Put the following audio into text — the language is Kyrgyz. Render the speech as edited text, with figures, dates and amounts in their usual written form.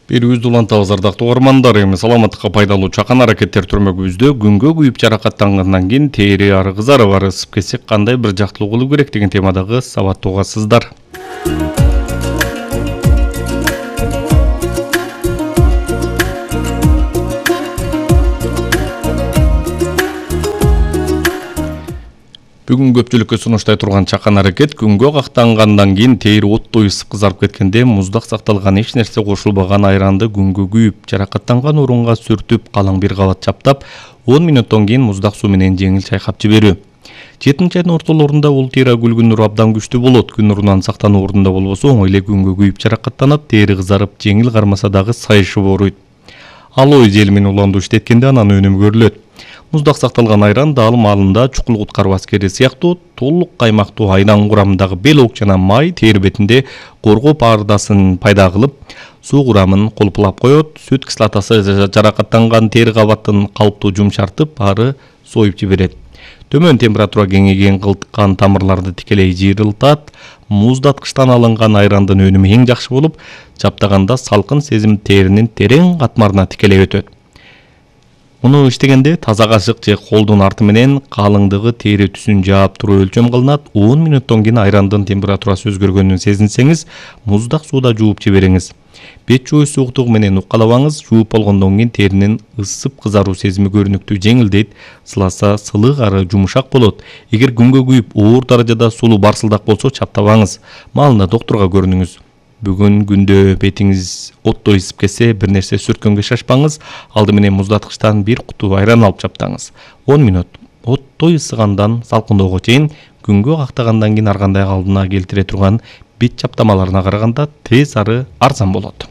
Берүүбүздү улантабыз ардактуу угармандар. Эми саламаттыкка пайдалуу чакан аракеттер түрмөгүбүздө күнгө күйүп жаракаттангандан кийин тери ары кызарып ары ысып кетсе кандай бир жактылык болуу керек деген темадагы сабаттуу угасыздар. Бүгүн көпчүлүккө сунуштай турган чакан аракет күнгө кактангандан кийин тери оттой ысып кызарып кеткенде муздак сакталган эч нерсе кошулбаган айранды күнгө күйүп жаракаттанган орунга сүртүп калың бир кабат чаптап 10 мүнөттөн кийин муздак суу менен жеңил чайкап жиберүү. 7 айдын ортолорунда бул тери күлгүн нуру абдан күчтүү болот. Күн нурунан сактануу ордунда болбосо оңой эле күнгө күйүп жаракаттанып, тери кызарып, жеңил кармаса дагы сайышып ооруйт. Алоэ жели менен уланду иштеткенде анан өнүмү көрүлөт. Муздак сакталган айран дал маалында чукул куткаруу аскери сыяктуу толук каймактуу айран курамындагы белок жана май тери бетинде коргоо паардасын пайда кылып, суу курамын колпулап коет. Сүт кислотасы жаракаттанган тери кабатын калыптуу жумшартып, ары союп жиберет. Төмөн температура кеңейген кылтыккан тамырларды тикелей жыйрылтат. Муздаткычтан алынган айрандын өнүмү эң жакшы болуп, чаптаганда салкын сезим теринин терең катмарына тикелей өтөт. Муну иштегенде таза кашык же колдун арты менен калыңдыгы тери түсүн жаап туруу өлчөм кылынат. 10 мүнөттөн кийин айрандын температурасы өзгөргөнүн сезинсеңиз, муздак сууда жууп жибериңиз. Бет жууш сууктугу менен уккалабаңыз. Жууп болгондон кийин теринин ысып кызаруу сезими көрүнүктүү жеңилдейт. Сыласа сылык ары жумшак болот. Эгер күнгө күйүп оор даражада сулуу барсылдак болсо чаптабаңыз. Маалында доктурга көрүнүңүз. Бүгүн күндө бетиңиз оттой ысып кетсе, бир нерсе сүрткөнгө шашпаңыз. Алды менен муздаткычтан бир куту айран алып чаптаңыз. 10 мүнөт оттой ысыгандан салкындоого чейин күнгө кактагандан кийин ар кандай алдына келтире турган бет чаптамаларына караганда тез ары арзан болот.